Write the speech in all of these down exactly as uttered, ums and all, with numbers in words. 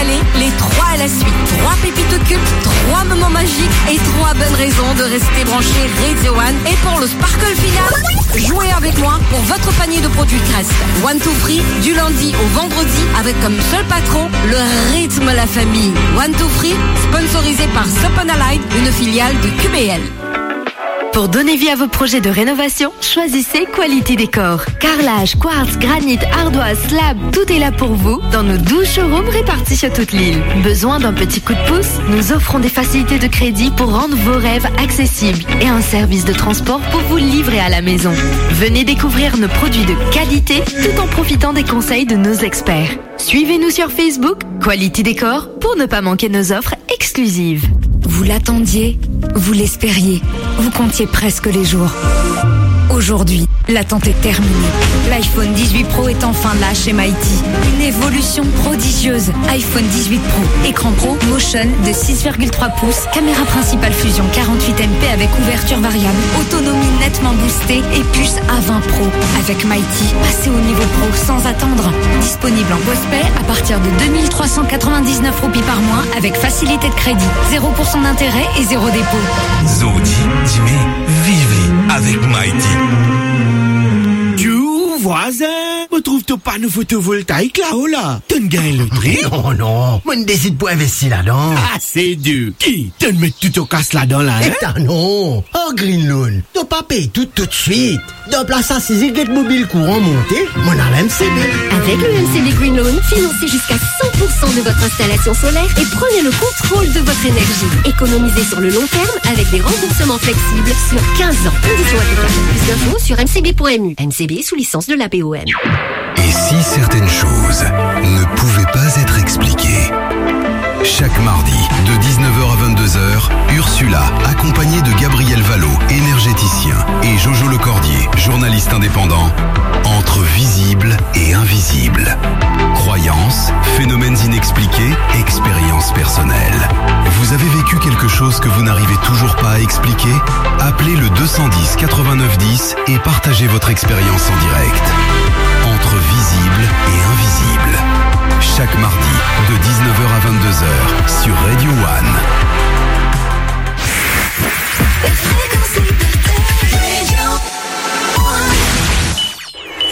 Les, les trois à la suite. Trois pépites au cube, trois moments magiques et trois bonnes raisons de rester branché Radio One. Et pour le sparkle final, jouez avec moi pour votre panier de produits Crest. One Two Free, du lundi au vendredi, avec comme seul patron le rythme la famille. One Two Free, sponsorisé par Sopanalite, une filiale de Q B L. Pour donner vie à vos projets de rénovation, choisissez Quality Décor. Carrelage, quartz, granit, ardoise, slab, tout est là pour vous dans nos douze showrooms répartis sur toute l'île. Besoin d'un petit coup de pouce ? Nous offrons des facilités de crédit pour rendre vos rêves accessibles et un service de transport pour vous livrer à la maison. Venez découvrir nos produits de qualité tout en profitant des conseils de nos experts. Suivez-nous sur Facebook, Quality Décor, pour ne pas manquer nos offres exclusives. Vous l'attendiez, vous l'espériez, vous comptiez presque les jours. Aujourd'hui, l'attente est terminée. L'iPhone dix-huit Pro est enfin là chez Mighty. Une évolution prodigieuse. iPhone dix-huit Pro, écran Pro Motion de six virgule trois pouces, caméra principale fusion quarante-huit M P avec ouverture variable, autonomie nettement boostée et puce A vingt Pro. Avec Mighty, passez au niveau pro sans attendre. Disponible en postpaid à partir de deux mille trois cent quatre-vingt-dix-neuf roupies par mois avec facilité de crédit, zéro pour cent d'intérêt et zéro dépôt. Zordi, dime, viv li avek Mighty. Tchou, vwazin, mo trouv to pano fotovoltaik lao la. To'nn gagn lotri? Non, non, mo'nn desid pou investi ladan. Ah, se dir. Ki? To'nn met tou to kas ladan la, hein? Eta non. Ar Green Loan, to pa pey tou toutswit. Dan plas asize get mobil kouran monte, mo'nn al M C B. Avec le M C B Green Loan, financez jusqu'à cent pour cent de votre installation solaire et prenez le contrôle de votre énergie. Économisez sur le long terme avec des remboursements flexibles sur quinze ans. Conditions applicables. Plus d'infos sur M C B point M U. M C B sous licence de l'A P O M. Et si certaines choses ne pouvaient pas être expliquées ? Chaque mardi, de dix-neuf heures à vingt-deux heures, Ursula, accompagnée de Gabriel Vallot, énergéticien, et Jojo Lecordier, journaliste indépendant, entre visible et invisible. Croyances, phénomènes inexpliqués, expériences personnelles. Vous avez vécu quelque chose que vous n'arrivez toujours pas à expliquer ? Appelez le deux cent dix quatre-vingt-neuf dix et partagez votre expérience en direct. Entre visible et invisible. Chaque mardi, de dix-neuf heures à vingt-deux heures, sur Radio One.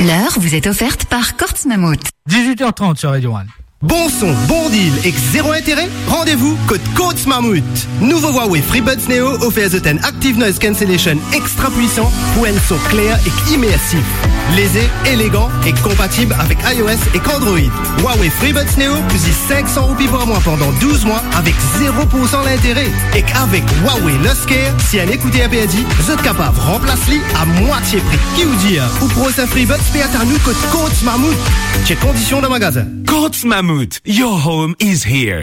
L'heure vous est offerte par Courts Mammouth. Dix-huit heures trente sur Radio One. Bon son, bon deal ek zero intere? Randevou kot Courts Mammouth. Nouvo Huawei FreeBuds Neo ofer zot enn Active Noise Cancellation extra pwisan pou enn son kler ek imersif. Leze, elegan ek konpatib avek iOS ek Android. Huawei FreeBuds Neo pou zis sink san roupi par mwa pandan douz mwa avek zero pour san lintere. Ek avek Huawei Luxcare, si enn ekouter perdi, zot kapav ranplas li a mwatie pri. Ki ou dir, ou prosin FreeBuds pe atann ou kot Courts Mammouth. Chek kondision dan magazin. Courts Mammouth, your home is here.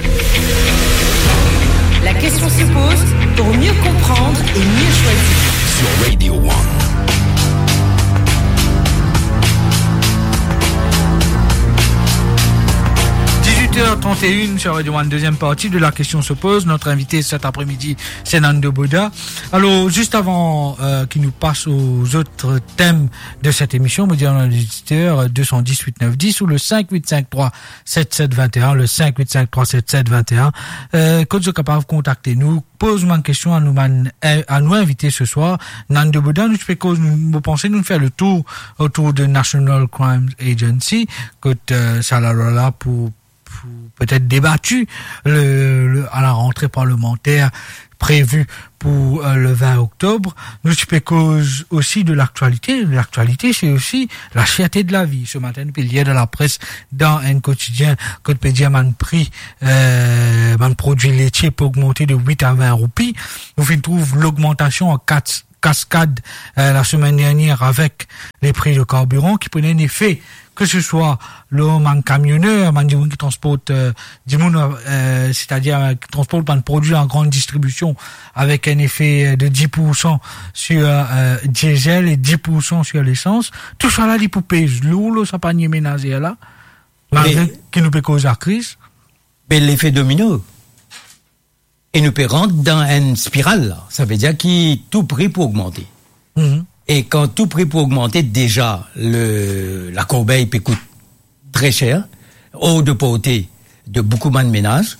La question se pose pour mieux comprendre et mieux choisir. Sur Radio One. Dix-huit heures trente et une sur Radio One, deuxième partie de la question se pose. Notre invité cet après-midi, c'est Nando Boda. Alors, juste avant, euh, qu'il nous passe aux autres thèmes de cette émission, mo dir a nos auditeurs, euh, deux cent dix huit neuf dix ou le cinq huit cinq trois sept sept vingt et un, le cinq huit cinq trois sept sept vingt et un. Euh, kot zot kapav kontakte nou, poz bann kestion a nou bann, euh, a nou invite se swar. Nando Boda, nou ti pe koz, nou, mo panse nou fer le tour otour de National Crime Agency, kot, euh, sa lalwa la pou, pou petet debati le, le, à la rentrée parlementaire prévue pour, euh, le vingt octobre. Nou ti pe koz osi de laktialite. Laktialite, se osi la cherté de la vie. Se matin, nou pe lir dan lapres, dan enn kotidien, kot pe dir bann pri, euh, bann prodwi letie pe ogmante de wit a vin roupi. Nou finn trouv logmantasion an kat-, kaskad, euh, la semaine dernière avec les prix de carburant ki pou ena enn efe, ke se swa lor bann kamioner, bann dimoun ki transport, euh, dimoun, euh, setadir, euh, ki transport bann prodwi an grann distribision, avek enn efe, euh, de dix pour cent sur, euh, diesel et dix pour cent sur l'essence. Tou sa la, li pou pez lour lor sa panie menazer la, malgre ki nou pe koz lakriz. Me lefe domino. E nou pe rant dan enn spiral la. Sa ve dir ki tou pri pou ogmante. Mhm. E kan tou pri pou ogmante, deza le, lakorbey pe kout tre ser, or de porte de boukou bann menaz,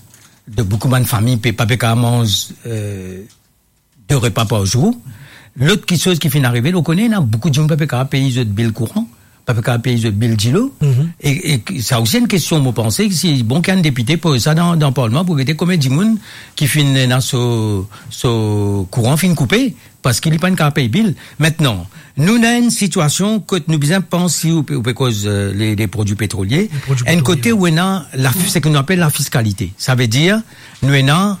de boukou bann fami pe, pa pe kapav manz, euh, de repa par zour. Lot kiksoz ki finn arive, ou kone, ena boukou dimoun pa pe kapav pey zot bil kouran, pa pe kapav pey zot bil dilo. Mhm. E, e sa osi enn kestion, mo panse, si bon ki enn depite poz sa dan, dan parlman pou gete konbien dimoun ki finn ena so, so kouran finn koupe, parski li pa'nn kapav pey bil. Aster, nou dan enn sitiasion kot nou bizin panse, ou pe, ou pe koz, euh, le, le prodwi petrolie. Le prodwi petrolie, wi. Enn kote ou ena la, seki nou apel la fiskalite. Savedir, nou ena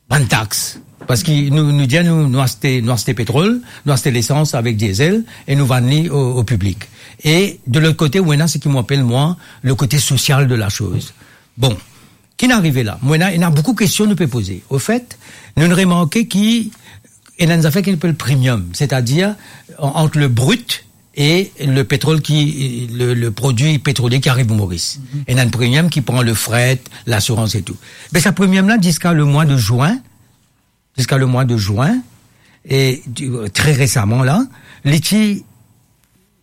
bann tax. Parski nou, nou dir nou, nou aste, nou aste petrol, nou aste lesans avek diesel e nou vann li o, o piblik. E de lot kote, ou ena seki mo apel mwa le kote sosial de la soz. Bon, ki finn arive la? Mo ena, ena boukou kestion nou pe poze. Ofet, nou remarke ki ena enn zafer ki apel premium, setadir an-, ant le brut e le petrol ki, le, le prodwi petrolie ki ariv Moris. Mhm. Ena enn premium ki pran le fret, lasirans e tou. Me sa premium la, ziska le mwa de zin, ziska le mwa de zin, e di-, tre resaman la, li ti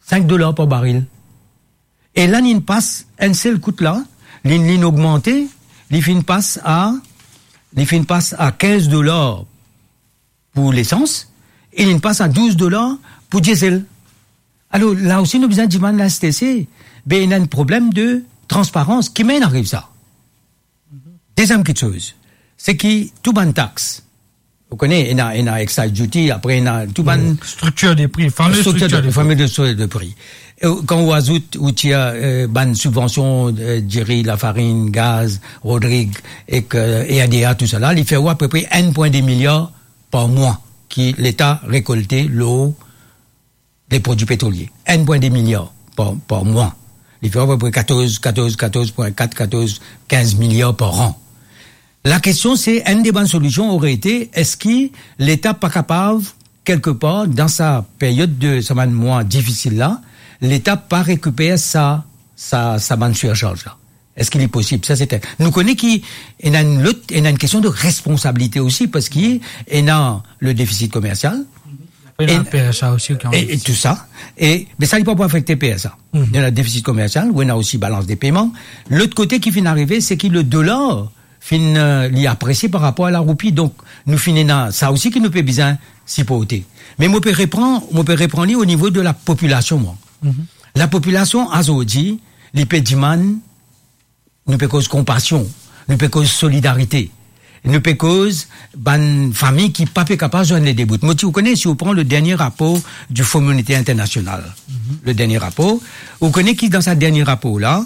sink dolar par baril. E la, linn pas enn sel kout la, linn, linn ogmante, li finn pas a, li finn pas a kinz dolar pou lesans, e linn pas a douz dolar pou diesel. Alor, la osi nou bizin dimann la S T C, be ena enn problem de transparans, ki mem ariv sa. Deziem kiksoz, seki tou bann tax, ou kone, ena, ena excise duty, apre ena tou bann... Mm, structure des prix, fameux structure de, fameux de, structure de prix. E kan ou azout, ou tir, euh, bann sibvansion, euh, diri, lafarinn, gaz, rodrig, ek, euh, R D A, tou sa la, li fer ou apepre enn pwin de miliar par mwa ki Leta rekolte lor le prodwi petrolie. Enn pwin de miliar par, par mwa. Li fer apepre katorz, katorz, katorz pwin kat, katorz, kinz miliar par an. La kestion se, enn de bann solision ore ete, eski Leta pa kapav, kelkepar, dan sa period de sa bann mwa difisil la, Leta pa rekiper sa, sa, sa bann sirsarz la? Eski li posib? Sa se enn. Nou kone ki ena enn lot, ena enn kestion de responsabilite osi, parski ena le defisit komersial, ena, ena le P S A osi, e, e tou sa. E, me sa, li pa pou afekte P S A. Mhm. Ena defisit komersial, ou ena osi balans de peyman. Lot kote ki finn arive, seki le dolar finn, euh, li apresie par rapor a la roupi. Donk, nou finn ena sa osi ki nou pe bizin siporte. Me mo pe repran, mo pe repran li o nivo de la popilasion, mwa. Mhm. La popilasion, azordi, li pe dimann, nou pe koz konpasion, nou pe koz solidarite, nou pe koz bann fami ki pa pe kapav zwenn le de bout. Mo ti, ou kone, si ou pran le dernie rapor du Fonds Monétaire International, mhm, le dernie rapor, ou kone ki dan sa dernie rapor la,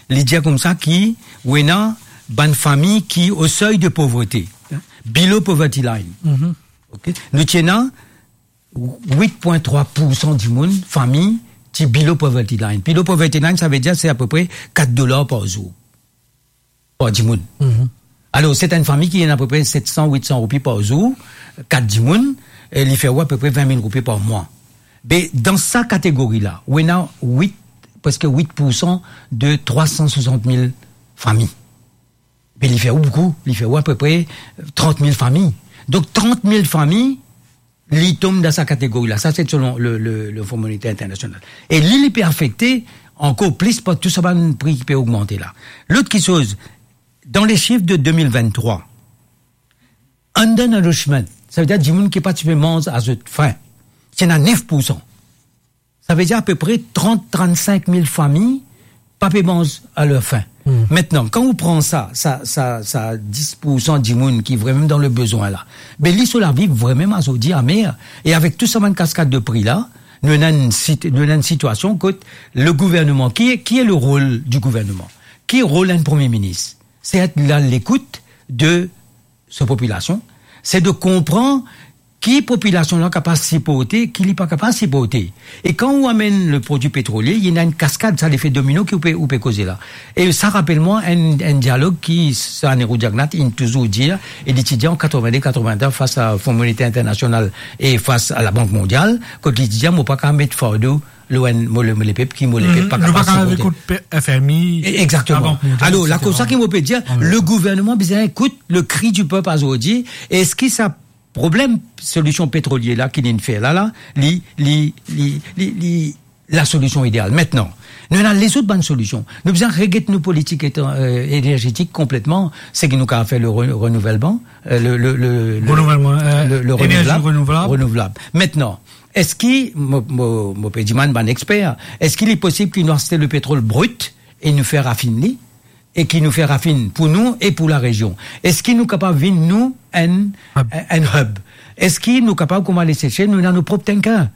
li dir koumsa ki ou ena bann fami ki au seuil de pauvreté, below poverty line. Mhm. Ok? Nou ti ena wit pwin trwa poursan dimoun, fami, ti below poverty line. Below poverty line, savedir se apepre kat dolar par zour par dimoun. Mhm. Alor, se enn fami ki ena apepre set san, wit san roupi par zour, kat dimoun, e li fer ou apepre vin mil roupi par mwa. Be, dan sa kategori la, ou ena wit, preske wit poursan de trwa san swasant mil fami. Be, li fer ou boukou, li fer ou apepre trant mil fami. Donk, trant mil fami, li tom dan sa kategori la. Sa, se selon le, le, le Fonds Monétaire International. E li, li pe afekte ankor plis par tou sa bann pri ki pe ogmante la. Lot kiksoz, dan le sif de de mil vinn-trwa, undernourishment, savedir dimoun ki pa ti pe manz a zot frin, ti ena nef poursan. Savedir apepre trant, trant-sink mil fami pa pe manz a ler fin. Hmm. Aster, kan ou pran sa, sa, sa, sa dis poursan dimoun ki vremem dan le bezwin la, be li so lavi vremem azordi amer. E avek tou sa bann kaskad de pri la, nou ena enn sit-, nou ena enn sitiasion kot le gouverneman, ki, ki le rol du gouverneman? Ki rol enn premie minis? Se et la lekout de so popilasion, se de konpran ki popilasion la kapav siporte, ki li pa kapav siporte. E kan ou amenn le prodwi petrolie, ena enn kaskad, sa lefe domino ki ou pe, ou pe koze la. E sa rapel mwa enn, enn dialog ki Sir Anirudh Jagannath inn touzour dir, e li ti dir an katrevin-de, katrevin-trwa fas a Fonds Monétaire International e fas a Labank Mondial, kot li ti dir, mo pa kapav met fardo lor enn, mo le, mo lepep, ki mo lepep pa kapav siporte. Nou pa kapav ekout F M I, e, exactement. Labank Mondial, et cetera. Alor, la, koumsa ki mo pe dir, le gouverneman bizin ekout le kri du pep azordi. Eski sa problem solision petrolie la ki linn fer la, la, li, li, li, li, li, la solision ideal? Aster, Nou ena lezout bann solision. Nou bizin reget nou politik etran-, eh, energetik konpletman, seki nou kapav fer le re-, renouvellement, eh, le, le, le, le, Renouvellement, eh, le, le énergie renouvelable, renouvelable. Renouvlable. Maintenant, eski, mo, mo, mo pe dimann bann exper, eski li posib ki nou aste le petrol brut e nou fer rafinn li, e ki nou fer rafinn pou nou e pou larezion? Eski nou kapav vinn nou enn, Hub. enn hub? Eski nou kapav, kouma Lesesel, nou ena nou prop tanker?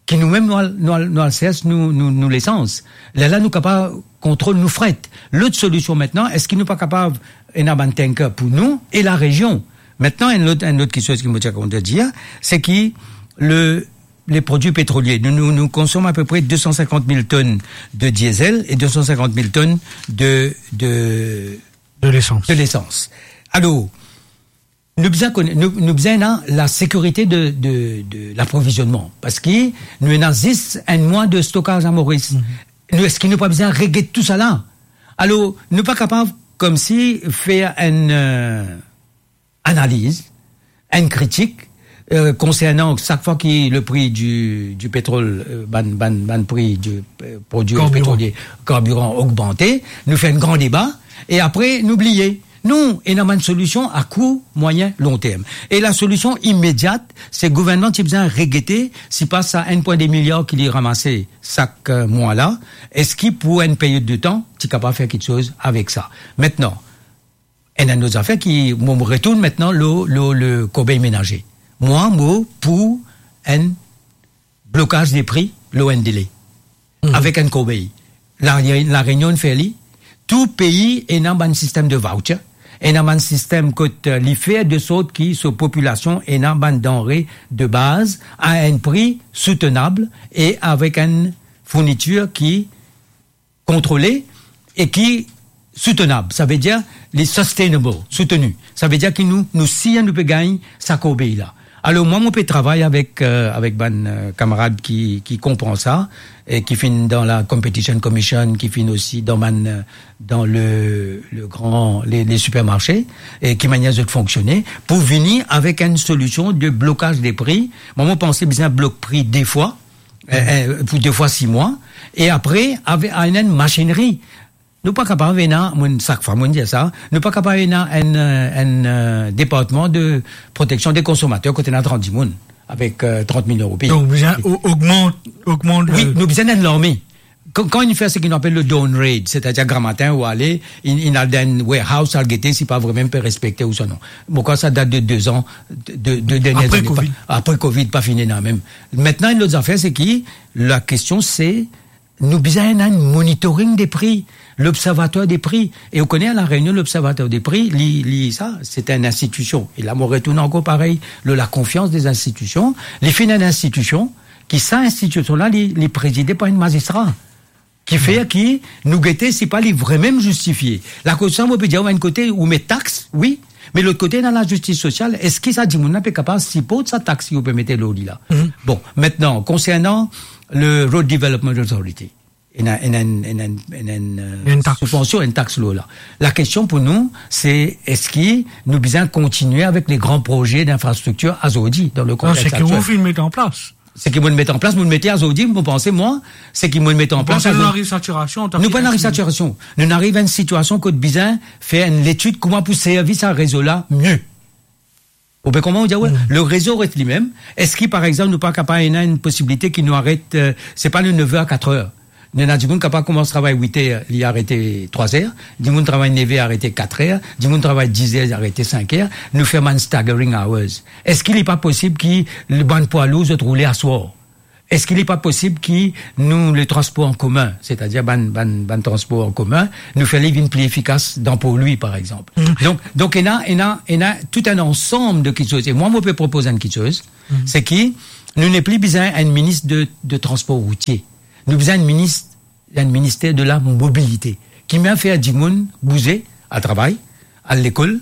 Ki nou mem nou al, nou al, nou al sers nou, nou, nou lesans. Lerla nou kapav kontrol nou fret. Lot solision aster, eski nou pa kapav ena bann tanker pou nou e larezion? Aster, enn lot, enn lot kiksoz ki mo ti a kontan dir, se ki le, le prodwi petrolie, nou, nou, nou konsom apepre de san sinkant mil tonn de diesel e de san sinkant mil tonn de, de, De lesans. de lesans. Alor, nou bizin kone-, nou, nou bizin ena lasekirite de, de, de laprovizionman, parski nou ena zis enn mwa de stokaz a Moris. Mhm. Nou, eski nou pa bizin reget tousala? Alor, nou pa kapav koumsi fer enn, eh, analiz, enn kritik, eh, konsernan sak fwa ki le pri di, di petrol, eh, bann, bann, bann pri di, eh, prodwi Karbiran. petrolie, karbiran ogmante, nou fer enn gran deba, e apre nou bliye. Non, ena bann solision a kour, mwayin, lonterm. E lasolision imediat, se gouvernman ti bizin regete, sipa sa enn pwin de miliar ki li ramase sak, eh, mwa la, eski pou enn period de tan, ti kapav fer kiksoz avek sa? Aster, ena enn lot zafer ki, mo, mo retourn aster lor, lor le korbey menaze. Mwa, mo pou enn blokaz de pri lor enn dele, Mhm. avek enn korbey. La, La Reunion fer li, tou pei ena bann sistem de voucher, ena bann sistem kot, eh, li fer de sort ki so popilasion ena bann danre de baz a enn pri soutenab e avek enn fournitir ki kontrole e ki soutenab. Savedir, li sustainable, soutenu. Savedir ki nou, nou sir nou pe gagn sa korbey la. Alor, mwa, mo pe travay avek, eh, avek bann, eh, kamarad ki, ki konpran sa, e ki finn dan la Competition Commission, ki finn osi dan bann, eh, dan le, le gran, le, le sipermarse, e ki manier zot fonksione, pou vini avek enn solision de blokaz de pri. Mwa, mo panse bizin blok pri de fwa, eh, eh, pou de fwa sis mwa, e apre, ave, ena enn masinri. Nou pa kapav ena, mwa, sak fwa mo dir sa, nou pa kapav ena enn, eh, enn, eh, departman de proteksion de konsomater kot ena trant dimoun avek, eh, trant mil roupi. Donk, bizin o-, ogmant, ogmant Wi, le nou bizin enn larme. Kan, kan inn fer seki nou apel le dawn raid, setadir gramatin ou ale, inn, inn al dan enn warehouse, al gete si pa vremem pe respekte ouswa non. Mo krwar sa dat de de an, de, de, de dernie Apre zane, pa, Covid. apre Covid, pa fini la mem. Aster, enn lot zafer, se ki lakestion, se nou bizin ena enn monitoring de pri, lobservater de pri. E ou kone, a La Reunion, lobservater de pri, li, li, sa, se enn institision. E la, mo retourn ankor parey, lor lakonfians de zinstitision, li finn enn institision, ki sa institision la, li, li prezide par enn mazistra. Ki fer ki nou gete si pa li vremem zistifie. Lakoz sa, mo pe dir, enn kote, ou met tax, wi, me lot kote, ena lazistis sosial. Eski sa dimoun la pe kapav siport sa tax ki ou pe mete lor li la? Mhm. Bon, aster, konsernan le Road Development Authority, ena, ena, ena, ena, ena, eh, Enn tax. subvansion, enn tax lor la. Lakestion pou nou, se eski nou bizin kontinie avek le gran proze dinfrastriktir azordi, dan le Non, konteks seki ou finn met an plas. Seki mo'nn met an plas, mo'nn mete azordi, mo panse, mwa, seki mo'nn met an Ou plas panse nou azordi. ariv satirasion, Nou pa ariv satirasion. Nou ariv enn sitiasion kot bizin fer enn letid kouma pou servi sa rezo la mie. Ou pe konpran, ou dir, wi, Mm. le rezo res limem. Eski, par exanp, nou pa kapav ena enn posibilite ki nou aret, eh, se pa le nev er a kat er? Nou ena dimoun kapav koumans travay wit er, li arete trwa er, dimoun travay nev er, arete kat er, dimoun travay diz er, arete sink er, nou fer bann staggering hours. Eski li pa posib ki le bann pwa lour zot roule aswar? Eski li pa posib ki nou, le transpor an komin, setadir bann, bann, bann transpor an komin, nou fer li vinn pli efikas dan Port-Louis, par exanp? Mm. Donk, donk, ena, ena, ena tou enn ansam de kiksoz. E mwa, mo pe propoz enn kiksoz, Mm. se ki nou nepli bizin enn minis de, de transpor routie. Nou bizin enn minis, enn minister de la mobilite, ki mem fer dimoun bouze, al travay, al lekol,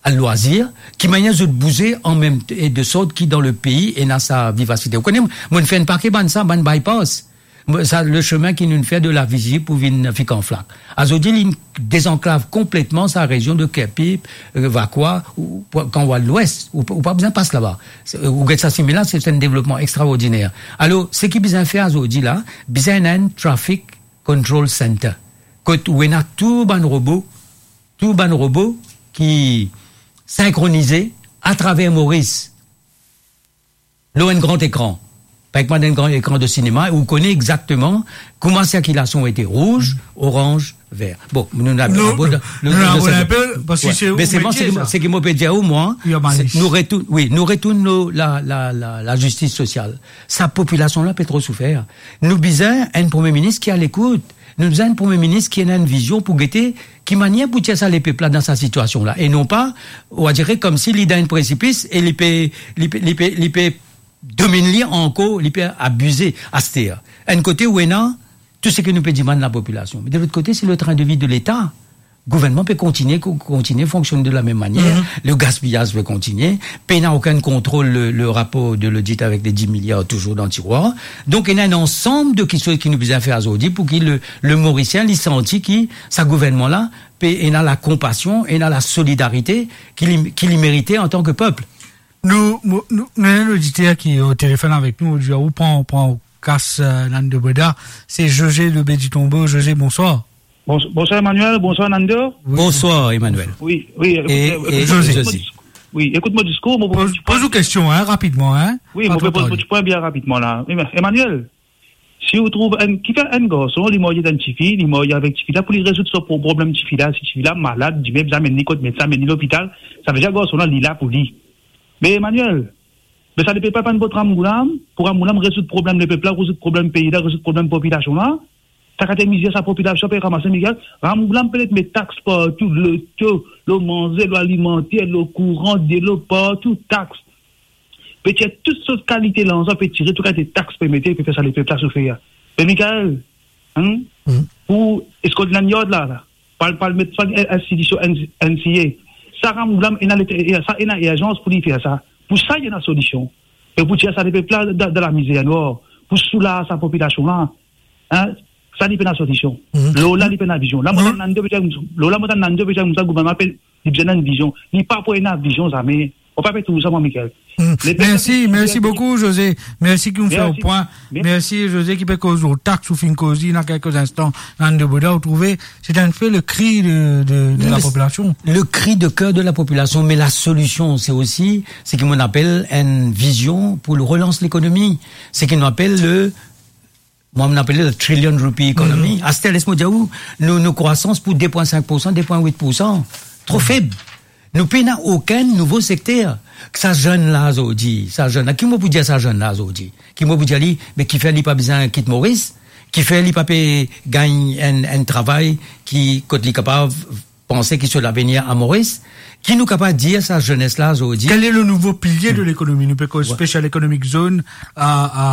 al lwazir, ki manier zot bouze an mem t-, e de sort ki dan le pei ena sa vivasite. Ou kone, mo'nn fer enn pake bann sa, bann bypass. Mo, sa, le semin ki nou'nn fer de Lavizie pou vinn Fikanflak. Azordi, li dezanklav konpletman sa rezion de Kerpip, eh, Vacoas, ou, pou, kan ou al lwes, ou, ou pa bizin pas laba. Se, ou get sa simin la, se, se enn devlopman extraordiner. Alor, seki bizin fer azordi la, bizin ena enn traffic Control Center, kot ou ena tou bann robo, tou bann robo ki sinkronize atraver Moris, lor enn gran ekran. Par exanp, enn gran ekran de sinema, ou kone exakteman kouma sirkilasion ete, rouz, oranz, ver. Bon, nou, nou, nou, nou, nou, nou, nou, nou, nou, nou, parski se ou, seki mo pe dir ou, mwa, nou retourn, wi, nou retourn lor la, la, la, lazistis sosial. Sa popilasion la pe tro soufer. Nou bizin enn premie minis ki alekout. Nou bizin enn premie minis ki ena enn vizion pou gete ki manier pou tir sa lepep la dan sa sitiasion la. E non pa, ou va dir komsi li dan enn presipis e li pe, li pe, li pe, li pe domin li ankor, li pe abize aster. Enn kote ou ena tou seki nou pe dimann lapopilasion. Me de lot kote, se le train de vie de Leta. Gouvernman pe kontigne, ko-, kontigne fonksionn de la mem manier. Le gaspiyaz pe kontigne. Pena okenn kontrol, le, le rapor de lodit avek le dis miliar touzour dan tirwar. Donk, ena enn ansam de kiksoz ki nou bizin fer azordi pou ki le, le Morisien, li santi ki sa gouvernman la, pe ena lakonpasion, ena lasolidarite ki li, ki li merite antan ke pep. Nou, mo-, nou, nou ena enn oditer ki o telefonn avek nou, ou pran, pran kas, eh, Nando Boda, se José Lobé di Tombeau. José, bonswar. Bons-, bonswar Emmanuel, bonswar Nando. Wi. Bonswar Emmanuel. Wi, wi, e, ekout, e, eh, José, ekout mo dis-, wi, ekout mo diskour, mo poz, poz ou kestion, hein, rapidman, hein. Wi, mo poz mo pwin bien rapidman la. Wi, me Emmanuel, si ou trouv enn, kifer enn garson, li marye avek enn tifi, li marye avek tifi la pou li rezoud so pro-, problem tifi la, si tifi la malad, dime bizin amenn li kot medsin, amenn li lopital, savedir garson la, li la pou li. Me Emmanuel, me sa lepep la pa enn bot ramgoulam, pou ramgoulam rezoud problem lepep la, rezoud problem pei la, rezoud problem popilasion la. Sa kate mizer sa popilasion pe ramase, Miguel. Ramgoulam pe met tax partou, loto, lor manze, lor alimanter, lor kouran, delo, partou tax. Pe tir tou sort kalite larzan, pe tire tou kalite tax, pe mete, pe fer sa lepep la soufer. Me Mikael, hein? Pou Scotland Yard la, la, pa al, pa al met sa enn institision, enn, enn siye. Sa ramgoulam ena lete-, sa ena irzans pou li fer sa. Pou sa, ena solision. E pou tir sa lepep la dan, dan lamizer nwar. Pou soulaz sa popilasion la. Hein? Sa li pena solision. Lor la li pena vizion. La, mo tann Nando pe dir, lor la, mo tann Nando pe dir koumsa, gouvernman pe, li bizin ena enn vizion. Li pa pou ena vizion zame. Ou pa pe trouv sa, mwa, Mikael. Lepep la mersi, mersi boukou, José. Mersi ki ou fer pwin. Mersi, José, ki pe koz lor tax, ou finn koz li ena kelke instan, Nando Boda, ou trouve, se enn pe le kri de, de, de lapopilasion. Le kri de ker de lapopilasion, me lasolision, se osi, se ki mo apel enn vizion pou relans lekonomi. Se ki nou apel le Mwa, mo apel li le trillion rupee economy. Aster, les mo dir ou, nou, nou krwasans pou de pwin sink poursan, de pwin wit poursan. Tro feb. Nou pena okenn nouvo sekter. Sa zenn la zordi, sa zenn la, ki mo pou dir sa zenn la zordi? Ki mo pou dir li, me kifer li pa bizin kit Moris? Kifer li pa pe gagn enn, enn travay ki, kot li kapav panse ki so lavenir a Moris? Ki nou kapav dir sa zenes la zordi? Quel est le nouveau pilier de l'économie? Nou pe koz special economic zone a, a,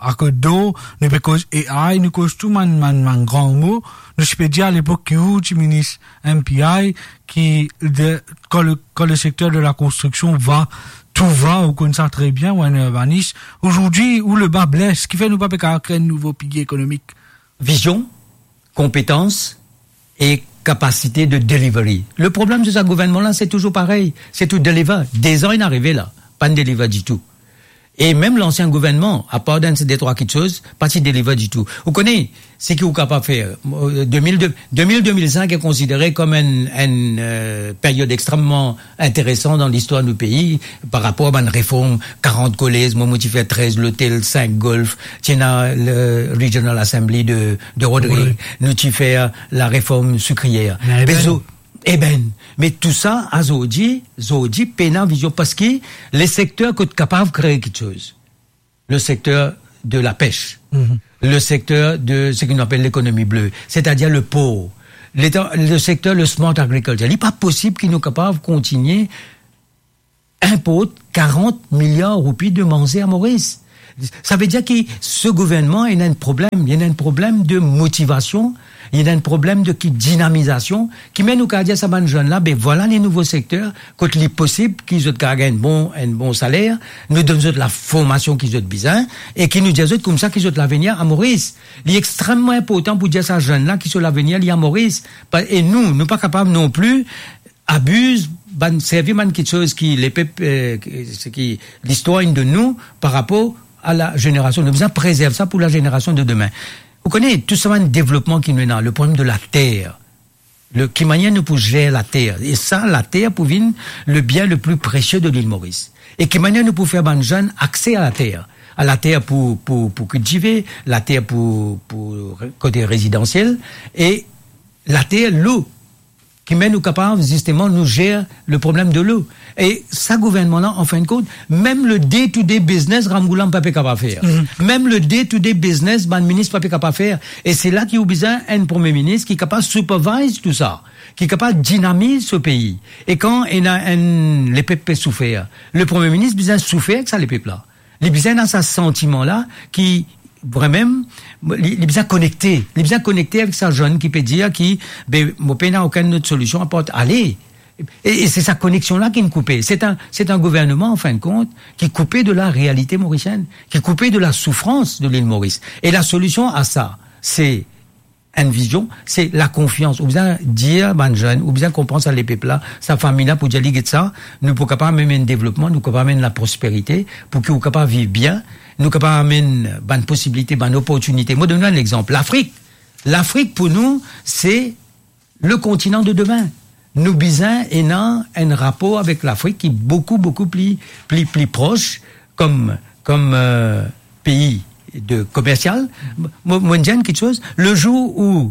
a Côte d'Or, nou pe koz A I, nou koz tou bann, bann, bann gran mo. Nou ti pe dir alepok ki ou ti minis M P I, ki de, quand le, quand le secteur de la construction va, tout va, ou konn sa tre bien, ou enn urbanis. Aujourd'hui, où le bât blesse, kifer nou pa pe kapav kre enn nouvo pilier ekonomik? Vizion, konpetans e kapasite de delivery. Le problem de sa gouvernman la, se touzour parey, se tou deliver. Dezan inn arive la, pa'nn deliver ditou. E mem lansien gouvernman, apar dan se de trwa kiksoz, pa ti deliver ditou. Ou kone, seki ou kapav fer, euh, de mil de, de mil, de mil sink est considéré comme enn, enn, euh, period extreman interesan dan listwar nou pei, par rapor a bann reform, karant kolez, mwa, mo ti fer trez lotel, sink golf, ti ena le Regional Assembly de, de Rodrigues, nou ti fer lareform sikriyer. Eben. Bezo-, eben, me tou sa, azordi, zordi, pena vizion, parski le sekter kot kapav kre kiksoz, le sekter de lapes, le sekter de seki nou apel lekonomi ble, setadir le por, leta, le sekter, le smart agriculture. Li pa posib ki nou kapav kontigne inport karant miliar roupi de manze a Moris. Savedir ki se gouvernman ena enn problem, ena enn problem de motivasion, ena enn problem de ki dinamizasion, ki mem nou kapav dir sa bann zenn la, be vwala le nouvo sekter, kot li posib ki zot kapav gagn bon, enn bon saler, nou donn zot laformasion ki zot bizin, e ki nou dir zot koumsa ki zot lavenir a Moris. Li extreman inportan pou dir sa zenn la ki so lavenir li a Moris. Pa, e nou, nou pa kapav non pli abiz bann, servi bann kiksoz ki lepep, eh, ki, seki listwar inn donn nou par rapor a la zenerasion. Nou bizin prezerv sa pou la zenerasion de demin. Ou kone, tou sa bann devlopman ki nou ena, le problem de later, le, ki manier nou pou zer later, e sa, later pou vinn le bien le pli presie de lil Moris. E ki manier nou pou fer bann zenn akse a later, a later pou, pou, pou kiltive, later pou, pou re-, kote rezidansiel, e later, lo, ki mem nou kapav, zisteman, nou zer le problem de lo. E sa gouvernman la, an fin de kont, mem le day-to-day business, Ramgoolam pa pe kapav fer. Mhm. Mem le day-to-day business, bann minis pa pe kapav fer. E se la ki ou bizin enn premie minis ki kapav supervise tou sa, ki kapav dinamiz so pei. E kan ena enn, lepep pe soufer, le premie minis bizin soufer ek sa lepep la. Li bizin ena sa santiman la ki, vremem, li, li bizin konekte. Li bizin konekte avek sa zenn ki pe dir ki, be, mo pena okenn lot solision apar ale. E, e se sa koneksion la ki'nn koupe. Se enn, se enn gouvernman, an fin de kont, ki koupe de la realite morisienn, ki koupe de la soufrans de lil Moris. E la solision a sa, se enn vizion, se lakonfians. Ou bizin dir bann zenn, ou bizin konpran sa lepep la, sa fami la, pou dir li, get sa, nou pou kapav amenn enn devlopman, nou kapav amenn laprosperite, pou ki ou kapav viv bien, nou kapav amenn bann posibilite, bann oportinite. Mo donn ou enn lexanp, Lafrik. Lafrik pou nou, se le kontinan de demin. Nou bizin ena enn rapor avek Lafrik ki boukou, boukou pli, pli, pli pros, kom, kom, euh, pei de komersial. Mo, mo dir enn kiksoz, le zour ou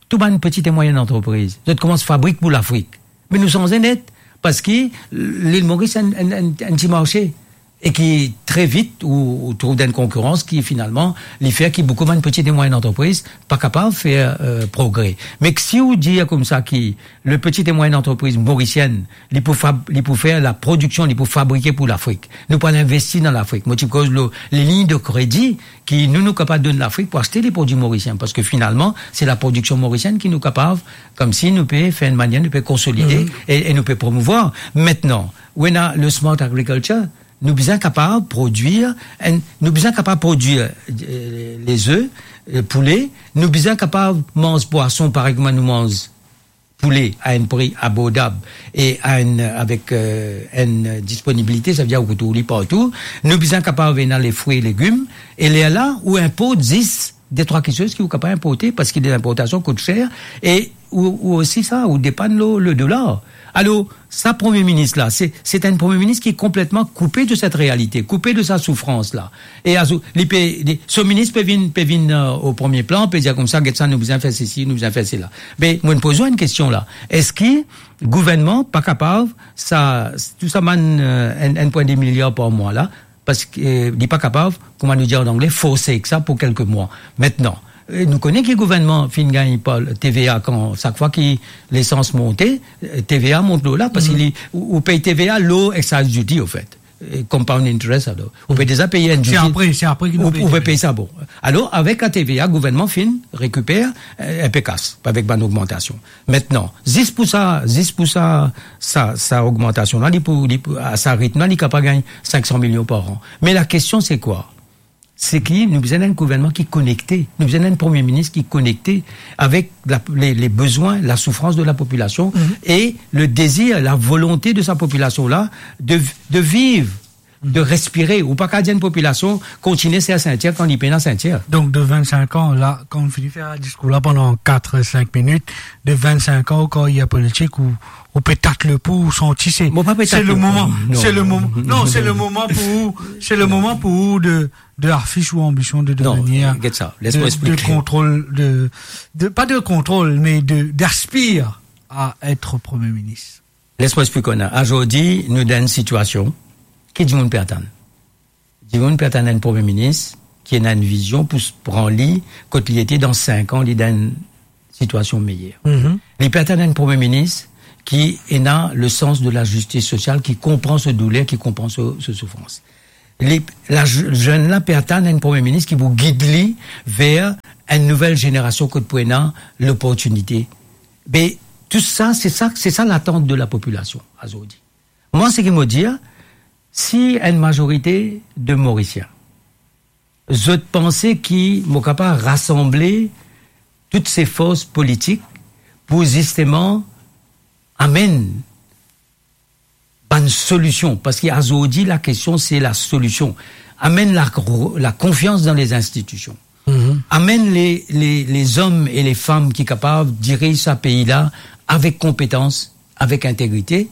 tou bann peti e mwayenn antrepriz, zot koumans fabrik pou Lafrik, me nou sanze net, parski lil Moris enn, enn, enn, enn ti marse, e ki tre vit ou, ou trouv dan enn konkirans ki finalman, li fer ki boukou bann peti e mwayenn antrepriz pa kapav fer, euh, progre. Me si ou dir koumsa ki le peti e mwayenn antrepriz morisienn, li pou fab-, li pou fer laprodiksion, li pou fabrike pou Lafrik. Nou pou al investi dan Lafrik. Mo ti koz lor liliny de kredi ki nou, nou kapav donn Lafrik pou aste leprodwi morisien, parski finalman, se laprodiksion morisienn ki nou kapav, koumsi nou pe fer enn manier, nou pe konsolide Mhm. e, e nou pe promouvwar. Aster, ou ena le smart agriculture, nou bizin kapav prodwir, enn, nou bizin kapav prodwir, euh, leze, euh, poule, nou bizin kapav manz pwason parey kouma nou manz poule a enn pri abordab e a enn, avek, euh, enn disponibilite, savedir ou pou trouv li partou. Nou bizin kapav ena lefri e legim, e lerla ou inport zis de trwa kiksoz ki ou kapav inporte, parski de linportasion kout ser, e ou, ou osi sa, ou depann lor le dolar. Alor, sa premie minis la, se, se enn premie minis ki konpletman koupe de set realite, koupe de sa soufrans la. E azour, li pe, li, so minis pe vinn, pe vinn, euh, o premie plan, pe dir koumsa, get sa, nou bizin fer sesi, nou bizin fer sela. Me, mo poz ou enn kestion la. Eski gouvernman pa kapav, sa, tou sa bann, euh, enn, enn pwin de miliar par mwa la, parski, euh, li pa kapav, kouma nou dir an angle, forsake sa pou kelke mwa. Aster, euh, nou kone ki gouvernman finn gagn par T V A kan, sak fwa ki lesans monte, euh, T V A mont lor la, parski Mhm. li, ou, ou pey T V A lor excise duty, anfet. Euh, compound interest, alor. Ou pe deza pey enn Se duty. apre, se apre ki nou Ou, pey ou pe T V A. Pey sa, bon. Alor, avek la T V A, gouvernman finn rekiper, euh, enpe kas, avek bann ogmantasion. Aster, zis pou sa, zis pou sa, sa, sa ogmantasion la, li pou, li pou, a sa ritm la, li kapav gagn sink san milion par an. Me la kestion, se kwa? Se ki nou bizin enn gouvernman ki konekte. Nou bizin enn premie minis ki konekte avek la, le, le bezwin, la soufrans de la popilasion Mhm. e le dezir, la volonte de sa popilasion la de, de viv, de respire. Ou pa kapav dir enn popilasion kontinie serr sintir kan li pena sintir. Donk, de vennsenk an, la, kan ou fini fer sa diskour la pandan kat, sink minit, de vennsenk an, ou karyer politik, ou, ou pe tat lepou, ou santi se, Mo pa pe se tat le lepou. moman, Non. se le moman, non, se le moman pou ou, se le Non. moman pou ou de, de afis ou anbision de Non, devenir get sa, les de, mo de eksplike. kontrol, de, de, pa de kontrol, me de, d'aspire à être Premier ministre. Les mo eksplike ou. Azordi, nou dan enn sitiasion ki dimoun pe atann. Dimoun pe atann enn premie minis ki ena enn vizion pou s-, pran li kot li ete dan sink an, li dan enn sitiasion meyer. Mhm. Li pe atann enn premie minis ki ena le sans de la zistis sosial, ki konpran so douler, ki konpran so, so soufrans. Li, la z-, zenn la pe atann enn premie minis ki pou gid li ver enn nouvel zenerasion kot pou ena loportinite. Me tou sa, se sa, se sa latant de la popilasion azordi. Mwa, seki mo dir, si enn mazorite de Morisien, zot panse ki mo kapav rasanble tout se fors politik pou zisteman amenn bann solision, parski azordi lakestion se lasolision, amenn la, lakonfians dan lezinstitision. Mhm. Amenn le, le, lezom e lefam ki kapav diriz sa pei la avek konpetans, avek integrite.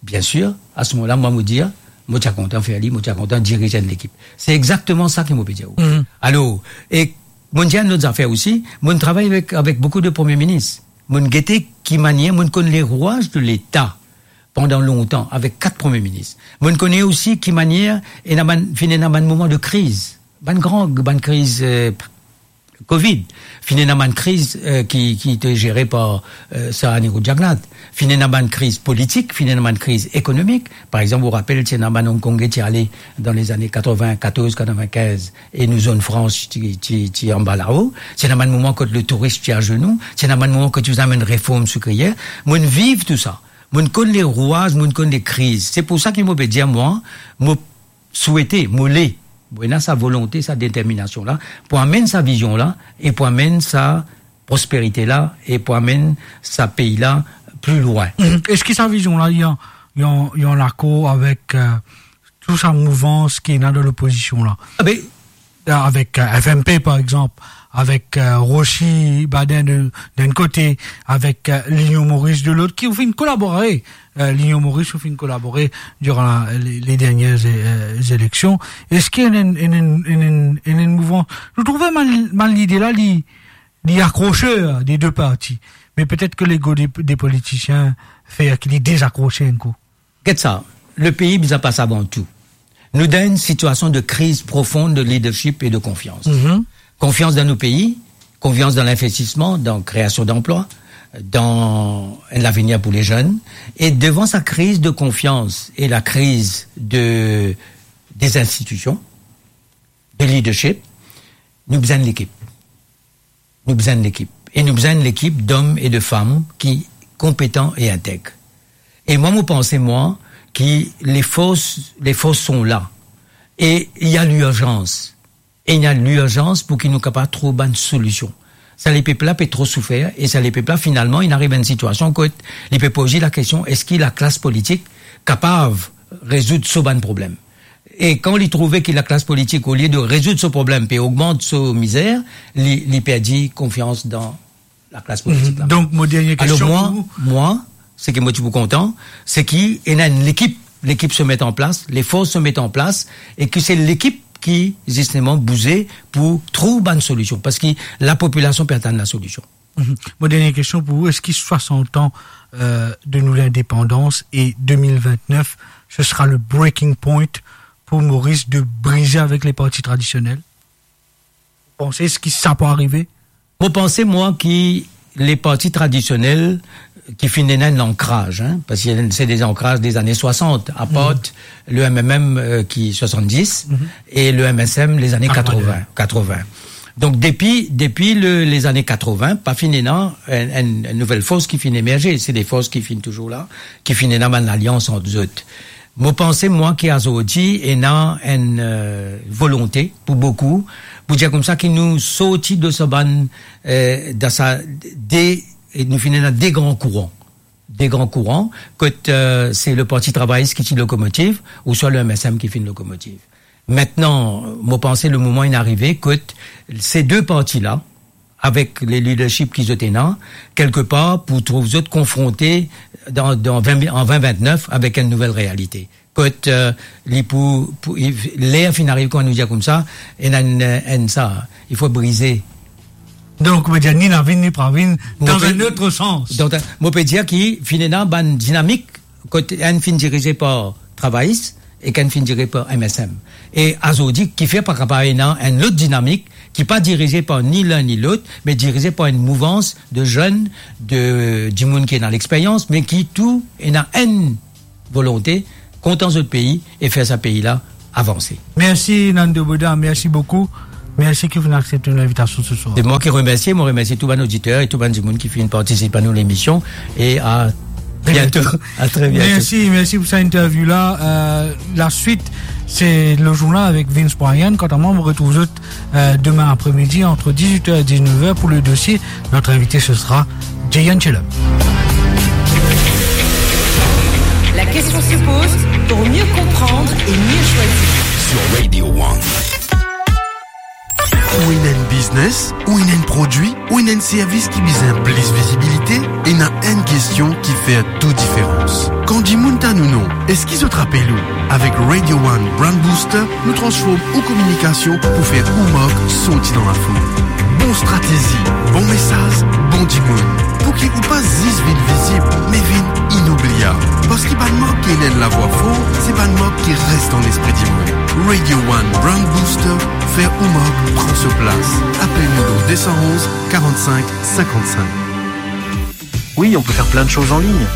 Biensir, a se moman la, mwa, mo dir, mo ti a kontan fer li, mo ti a kontan diriz enn lekip. Se exakteman sa ki mo pe dir ou. Mhm. Alor, e mo dir enn lot zafer osi, mo travay avek, avek boukou de premie minis. Mo gete ki manier, mo konn lerwaz de Leta pandan lontan avek kat premie minis. Mo kone osi ki manier ena bann, finn ena bann moman de kriz, bann gran, bann kriz, eh, covid, finn ena bann kriz, eh, ki, ki te zere par, eh, Sarah Nirou Jagannath, finn ena bann kriz politik, finn ena bann kriz ekonomik. Par exanp, ou rapel, ti ena bann Hongkongais ti ale dan lezane katrevin-katorz, katrevin-kinz, e nou zonn frans ti, ti, ti anba lao. Ti ena bann moman kot letouris ti azenou. Ti ena bann moman kot ti bizin amenn reform sikriyer. Mo viv tou sa. Mo konn lerwaz, mo konn lekriz. Se pou sa ki mo pe dir mwa, mo swete, mo le, mo ena sa volonte, sa determinasion la, pou amenn sa vizion la, e pou amenn sa prosperite la, e pou amenn sa pei la pli lwin. Mhm. Eski sa vizion la, li an, li an, li an lakor avek, eh, tou sa mouvans ki ena dan lopozision la? Ah ben, avek, eh, F M P, par exanp, avek, eh, Rossy Baden de, d'un kote, avek, eh, Linion Moris de lot, ki ou finn kolabore, eh, Linion Moris ou finn kolabore diran la, le, le dernie, eh, zeleksion. Eski ena enn, enn, enn, enn, enn, enn mouvans? Nou trouve bann, bann lide la, li, li akroser de de parti. Me petet ki lego de, de politisien fer ki li dezakrose enn kou. Get sa, lepei bizin pas avan tou. Nou dan enn sitiasion de kriz profon de leadership e de konfians. Mhm. Konfians dan nou pei, konfians dan linvestisman, dan kreasion danplwa, dan enn lavenir pou lezenn. E devan sa kriz de konfians e lakriz de, de zinstitision, de leadership, nou bizin enn lekip. Nou bizin enn lekip. E nou bizin enn lekip dom e de fam ki konpetan e integ. E mwa, mo panse, mwa, ki lefors, lefors son la. E ena lirzans. E ena lirzans pou ki nou kapav trouv bann solision. Sa lepep la pe tro soufer, e sa lepep la, finalman, inn ariv enn sitiasion kot li pe poze lakestion, eski laklas politik kapav rezoud so bann problem? E kan li trouve ki laklas politik, olie de rezoud so problem, pe ogmant so mizer, li, li perdi konfians dan laklas politik la. Mhm. Donk, mo dernie kestion pou ou. Alor mwa, mwa, seki mo ti pou kontan, seki ena enn lekip, lekip se met an plas, lefors se met an plas, e ki se lekip ki, zisteman, bouze pou trouv bann solision, parski lapopilasion pe atann lasolision. Mhm. Mo dernie kestion pou ou, eski swasant an, eh, de nou lindepandans e de mil vintnef, se sera le breaking point pou Moris de brize avek le parti tradisionel? Ou panse eski sa pou arive? Mo panse, mwa, ki le parti tradisionel ki finn ena enn ankraz, hein, parski se de zankraz de zane swasant, apar le M M M, eh, ki swasanndis, e le M S M, lezane katrevin, katrevin. Donk, depi, depi le, lezane katrevin, pa finn ena enn, enn, enn nouvel fors ki finn emerze. Se de fors ki finn touzour la, ki finn ena bann alians ant zot. Mo panse, mwa, ki azordi ena enn, eh, volonte pou boukou, pou dir koumsa ki nou sorti de sa bann, eh, dan sa de, e nou finn ena de gran kouran. De gran kouran, kot, eh, se le Parti Travayis ki ti lokomotiv, ouswa le M S M ki finn lokomotiv. Aster, mo panse le moman inn arive kot se de parti la, avek le leadership ki zot ena, kelkepar pou trouv zot konfronte dan, dan vin, an vin vintnef avek enn nouvel realite. Kot, eh, li pou, pou, ler finn arive, kouma nou dir koumsa, ena enn, enn sa, il faut briser. Donk, ou pe dir ni lavinn, ni pa lavinn, dan enn lot sans. Donk, mo pe dir ki finn ena bann dinamik, kot enn finn dirize par Travayis, e ki enn finn dirize par M S M. E azordi, kifer pa kapav ena enn lot dinamik ki pa dirize par ni linn ni lot, me dirize par enn mouvans de zenn, de dimoun ki ena lexperyans, me ki tou ena enn volonte, kontan zot pei e fer sa pei la avanse. Mersi, Nando Bodhar, mersi boukou. Mersi ki ou finn aksepte nou linvitasion se swar. Se mwa ki remersie, mo remersie tou bann oditer e tou bann dimoun ki finn partisip a nou lemision. E a biento. A tre biento. Mersi, mersi pou sa interview la. Euh, la suite, se le journal avec Vince Bryan. Quant à moi, on retrouve zot, euh, demain après-midi entre dix-huit heures et dix-neuf heures pour le dossier. Notre invité, ce sera Jeyan Chelom. La question se pose pour mieux comprendre et mieux choisir. Sur Radio One. Ou ena enn biznes, ou ena enn prodwi, ou ena enn servis ki bizin plis vizibilite, ena enn kestion ki fer tou diferans. Kan dimoun tann ou non, eski zot rapel ou? Avek Radio One Brand Booster, nou transform ou kominikasion pou fer ou mark sorti dan lafoul. Bon stratezi, bon mesaz, bon dimoun. Pouki ou pa zis vinn vizib, me vinn inoubliab. Parski bann mark ki ena enn lavwa for, se bann mark ki res dan lespri dimoun. Radio One Brand Booster, fer ou mark pran so plas. Apel nou dan de san onz, karant-sink, sinkant-sink. Oui, on peut faire plein de choses en ligne,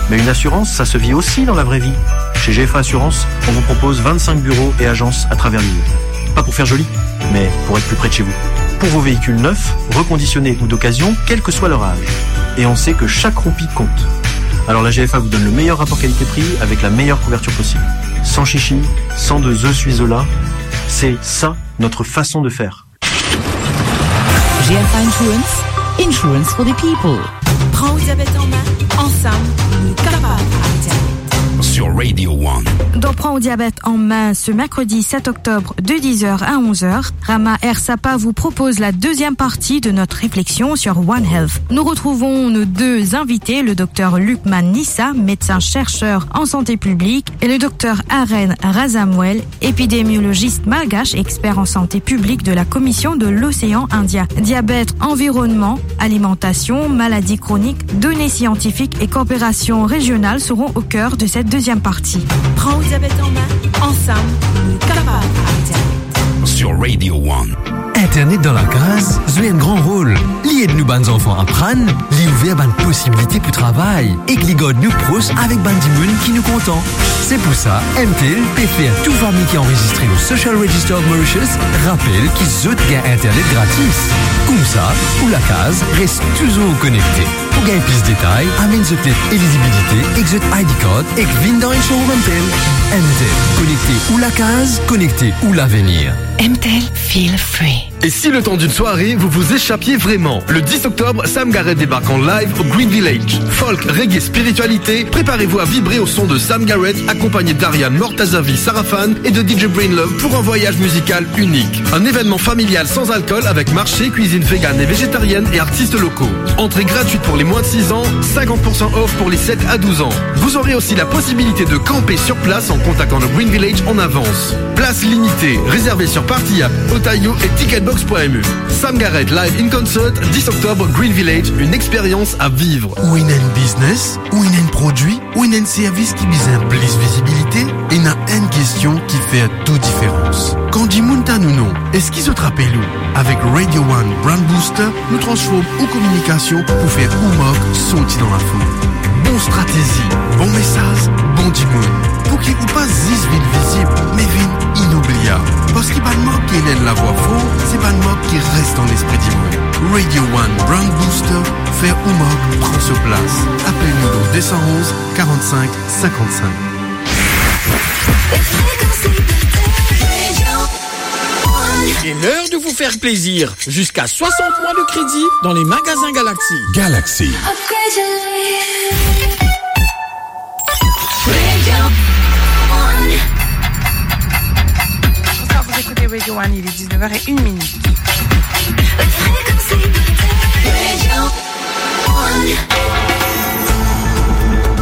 mais une assurance, ça se vit aussi dans la vraie vie. Chez G F A Assurance, on vous propose vingt-cinq bureaux et agences à travers l'île. Pas pour faire joli, mais pour être plus près de chez vous. Pour vos véhicules neufs, reconditionnés ou d'occasion, quel que soit leur âge. Et on sait que chaque roupie compte. Alors la G F A vous donne le meilleur rapport qualité-prix avec la meilleure couverture possible. Sans chichi, sans de je suis là, c'est ça notre façon de faire. G F A Insurance, insurance for the people. Pran ou diabet an me, ansam nou kapav aret diabet. Sur Radio One. Dans Pran ou diabet an me, ce mercredi sept octobre de dix heures à onze heures, Rama Ersapa vous propose la deuxième partie de notre réflexion sur One Health. Nous retrouvons nos deux invités, le docteur Lukman Nissa, médecin-chercheur en santé publique, et le docteur Aren Razamwel, épidémiologiste malgache, expert en santé publique de la Commission de l'Océan Indien. Diabète, environnement, alimentation, maladies chroniques, données scientifiques et coopération régionale seront au cœur de cette deuxième partie. Pran ou diabet an me, ansam nou kapav aret diabet. Sur Radio One. Internet dan lakaz zwe enn gran rol. Li ed nou bann zanfan aprann, li ouver bann posibilite pou travay, ek li gard nou pros avek bann dimoun ki nou kontan. Se pou sa, M T L pe fer tou fami ki anrezistre lor Social Register of Mauritius rapel ki zot gagn internet gratis. Koumsa, ou lakaz res touzour konekte. Pou gagn plis detay, amenn zot let elizibilite ek zot I D card ek vinn dan enn showroom M T L. M T L, konekte ou lakaz, konekte ou lavenir. M T L, feel free. Et si le temps d'une soirée, vous vous échappiez vraiment ? Le dix octobre, Sam Garrett débarque en live au Green Village. Folk, reggae, spiritualité, préparez-vous à vibrer au son de Sam Garrett, accompagné d'Ariane Mortazavi Sarafan et de D J Brainlove pour un voyage musical unique. Un événement familial sans alcool avec marché, cuisine végane et végétarienne et artistes locaux. Entrée gratuite pour les moins de six ans, cinquante pour cent off pour les sept à douze ans. Vous aurez aussi la possibilité de camper sur place en contactant le Green Village en avance. Places limitées, réservées sur Party App, Otaïo et ticketbox point M E. Sam Garrett Live in Concert, dix octobre, Green Village, une expérience à vivre. Ou ena enn biznes, ou ena enn prodwi, ou ena enn servis ki bizin plis vizibilite, ena enn kestion ki fer tou diferans. Kan dimoun tann ou non, eski zot rapel ou? Avek Radio One Brand Booster, nou transform ou kominikasion pou fer ou mark sorti dan lafoul. Bon stratezi, bon mesaz, bon dimoun. Pouki ou pa zis vinn vizib, me vinn inoubliab. Parski bann mark ki ena enn lavwa for, se bann mark ki res dan lespri dimoun. Radio One Brand Booster, fer ou mark pran so plas. Apel nou dan de san onz, karant-sink, sinkant-sink. C'est l'heure de vous faire plaisir. Jusqu'à soixante mois de crédit dans les magasins Galaxy. Galaxy. Bonsoir, vous écoutez Radio One, il est dix-neuf heures et une minute.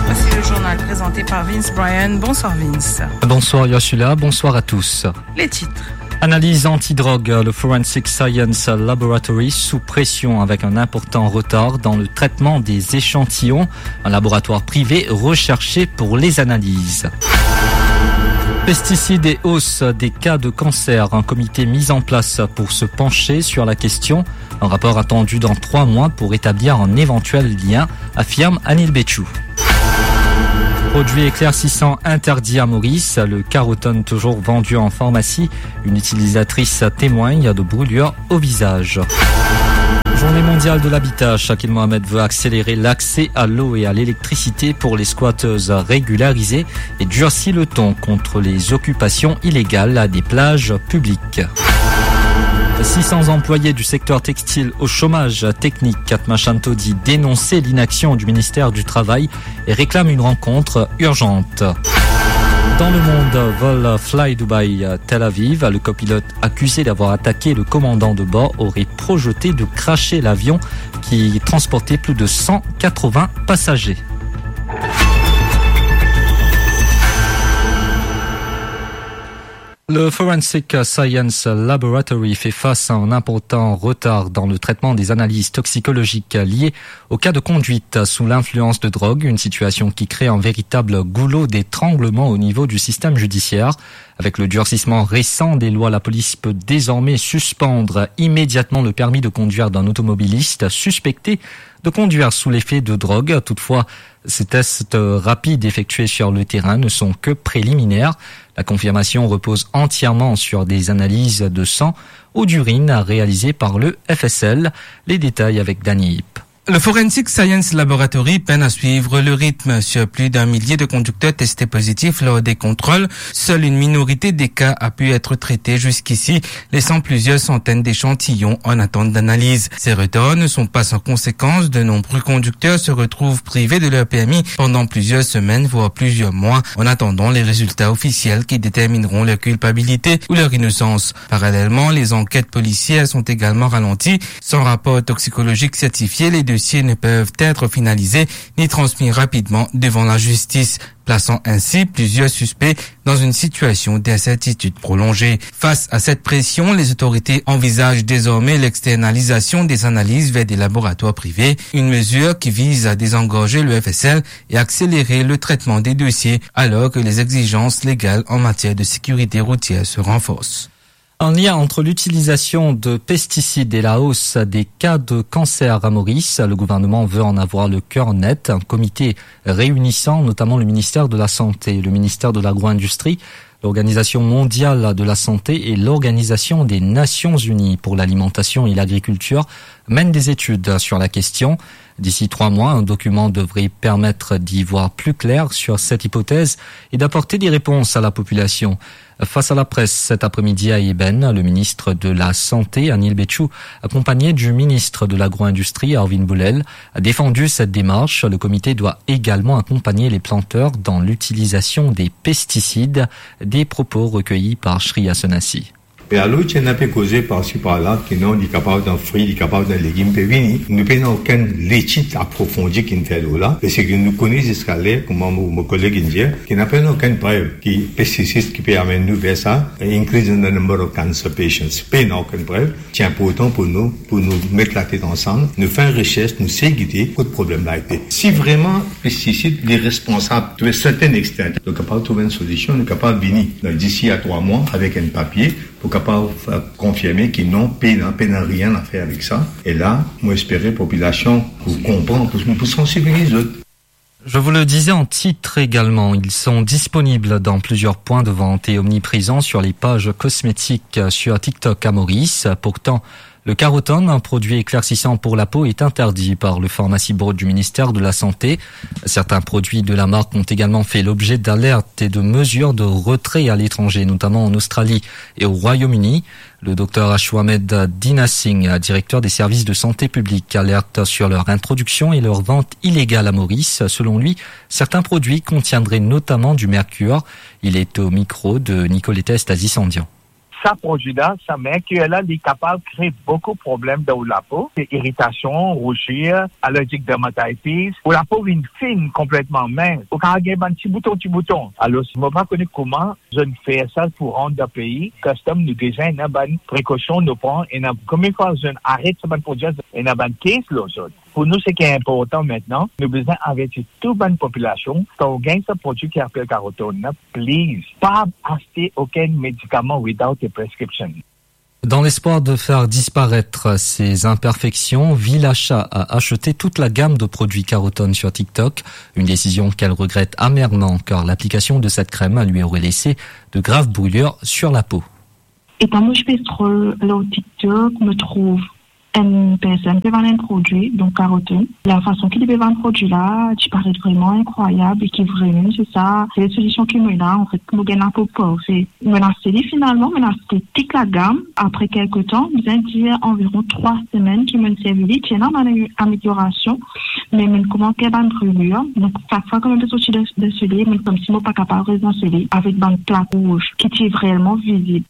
Voici le journal présenté par Vince Bryan. Bonsoir Vince. Bonsoir Ursula, bonsoir à tous. Les titres. Analyse antidrogue, le Forensic Science Laboratory sous pression avec un important retard dans le traitement des échantillons. Un laboratoire privé recherché pour les analyses. Pesticides et hausse des cas de cancer, un comité mis en place pour se pencher sur la question. Un rapport attendu dans trois mois pour établir un éventuel lien, affirme Anil Bechoo. Produit éclaircissant interdit à Maurice, le Carotone toujours vendu en pharmacie. Une utilisatrice témoigne de brûlures au visage. Journée mondiale de l'habitat, Shakil Mohamed veut accélérer l'accès à l'eau et à l'électricité pour les squatteuses régularisées et durcit le ton contre les occupations illégales à des plages publiques. Six cents employés du secteur textile au chômage technique. Katma Shanto dit dénoncer l'inaction du ministère du Travail et réclame une rencontre urgente. Dans le monde, vol Fly Dubai Tel Aviv, le copilote accusé d'avoir attaqué le commandant de bord aurait projeté de crasher l'avion qui transportait plus de cent quatre-vingts passagers. Le Forensic Science Laboratory fait face à un important retard dans le traitement des analyses toxicologiques liées au cas de conduite sous l'influence de drogue, une situation qui crée un véritable goulot d'étranglement au niveau du système judiciaire. Avec le durcissement récent des lois, la police peut désormais suspendre immédiatement le permis de conduire d'un automobiliste suspecté de conduire sous l'effet de drogue. Toutefois, ces tests rapides effectués sur le terrain ne sont que préliminaires. La confirmation repose entièrement sur des analyses de sang ou d'urine réalisées par le F S L. Les détails avec Dany Yip. Le Forensic Science Laboratory peine à suivre le rythme. Sur plus d'un millier de conducteurs testés positifs lors des contrôles, seule une minorité des cas a pu être traitée jusqu'ici, laissant plusieurs centaines d'échantillons en attente d'analyse. Ces retards ne sont pas sans conséquence. De nombreux conducteurs se retrouvent privés de leur permis pendant plusieurs semaines, voire plusieurs mois, en attendant les résultats officiels qui détermineront leur culpabilité ou leur innocence. Parallèlement, les enquêtes policières sont également ralenties. Sans rapport toxicologique certifié, les dossiers ne peuvent être finalisés ni transmis rapidement devant la justice, plaçant ainsi plusieurs suspects dans une situation d'incertitude prolongée. Face à cette pression, les autorités envisagent désormais l'externalisation des analyses vers des laboratoires privés, une mesure qui vise à désengorger le F S L et accélérer le traitement des dossiers, alors que les exigences légales en matière de sécurité routière se renforcent. Un lien entre l'utilisation de pesticides et la hausse des cas de cancer à Maurice. Le gouvernement veut en avoir le cœur net. Un comité réunissant notamment le ministère de la Santé, le ministère de l'Agro-Industrie, l'Organisation mondiale de la santé et l'Organisation des Nations unies pour l'alimentation et l'agriculture mène des études sur la question. D'ici trois mois, un document devrait permettre d'y voir plus clair sur cette hypothèse et d'apporter des réponses à la population. Face à la presse cet après-midi à Eben, le ministre de la Santé, Anil Bechu, accompagné du ministre de l'Agro-Industrie, Arvind Bollel, a défendu cette démarche. Le comité doit également accompagner les planteurs dans l'utilisation des pesticides, des propos recueillis par Shreya Sonasi. E alor, ti ena pe koze parsi parla, ki non, li kapav dan fri, li kapav dan legim pe vini. Nou pena okenn letid aprofondi ki'nn fer lor la, parski nou kone ziska ler, kouma mo, mo koleg inn dir, ki napa okenn prev ki pestisid ki pe amenn nou ver sa, increase in the number of cancer patients. Pena okenn prev. Ti inportan pou nou, pou nou met latet ansam, nou fer reshers, nou sey gete kot problem la ete. Si vreman pestisid li responsab to a certain extent, nou kapav trouv enn solision, nou kapav vini dan d'ici à trois mois avek enn papie pou kapav, euh, konfirme ki non, pena, pena rien a fer avek sa. E la, mo espere popilasion pou konpran, pou, pou sansibiliz zot. Je vous le disais en titre également, ils sont disponibles dans plusieurs points de vente et omniprésents sur les pages cosmétiques sur TikTok à Maurice. Pourtant, le Carotone, un produit éclaircissant pour la peau, est interdit par le Pharmacy Board du ministère de la Santé. Certains produits de la marque ont également fait l'objet d'alertes et de mesures de retrait à l'étranger, notamment en Australie et au Royaume-Uni. Le docteur Ashwamed Dina Singh, directeur des services de santé publique, alerte sur leur introduction et leur vente illégale à Maurice. Selon lui, certains produits contiendraient notamment du mercure. Il est au micro de Nicoletta Estazi-Sandian. Sa prodwi la, sa merkir la, li kapav kree boukou problem dan ou lapo. Se iritasion, rouzir, allergic dermatitis, ou lapo vinn fin konpletman, mins ou kapav gagn bann ti bouton, ti bouton. Alor, mo pa kone kouma zot fer sa pou rant dan pei. Custom, nou deza ena bann prekosion nou pran, ena konbien fwa zot aret sa bann prodwi, ena bann kes lor zot. Pou nou, seki inportan aster, nou bizin averti tou bann popilasion, kan ou gagn sa prodwi ki apel Carotone la, please, pa aste okenn medikaman without a prescription. Dans l'espoir de faire disparaître ces imperfections, Vilachat a acheté toute la gamme de produits Carotone sur TikTok, une décision qu'elle regrette amèrement car l'application de cette crème lui aurait laissé de graves brûlures sur la peau. Etan mo ti pe scroll lor TikTok, mo trouv enn personn pe vann enn prodwi, donk Carotone. Lafason ki li pe vann prodwi la, ti paret vreman inkrwayab e ki vremem se sa, se solision ki mo ena, anfet, pou mo gagn lapo parfe. Mo'nn aste li finalman, mo'nn aste tou lagam. Apre kelke tan, bizin dir anviron trwa semenn ki mo'nn servi li, ti ena bann ameliorasion. Me mo'nn koumans gagn bann brulur, donk sak fwa ki mo'nn sorti dan, dan soley, mo'nn koumsi mo pa kapav res dan soley avek bann plak rouz ki ti vreman vizib.